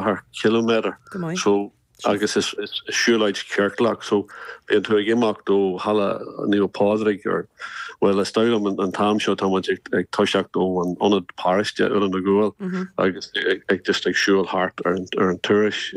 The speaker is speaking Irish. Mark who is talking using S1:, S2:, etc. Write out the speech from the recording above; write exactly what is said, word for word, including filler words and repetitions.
S1: ceathair kilometer so agus is siúlóid ciorclach so bíonn tú ag imeacht ó halla Naomh Pádraig ar well is dóigh liom an t-am seo tá ag toiseacht ó an ionad paróiste Oileán na gCuan agus ag just ag siúl thart ar an ar an turas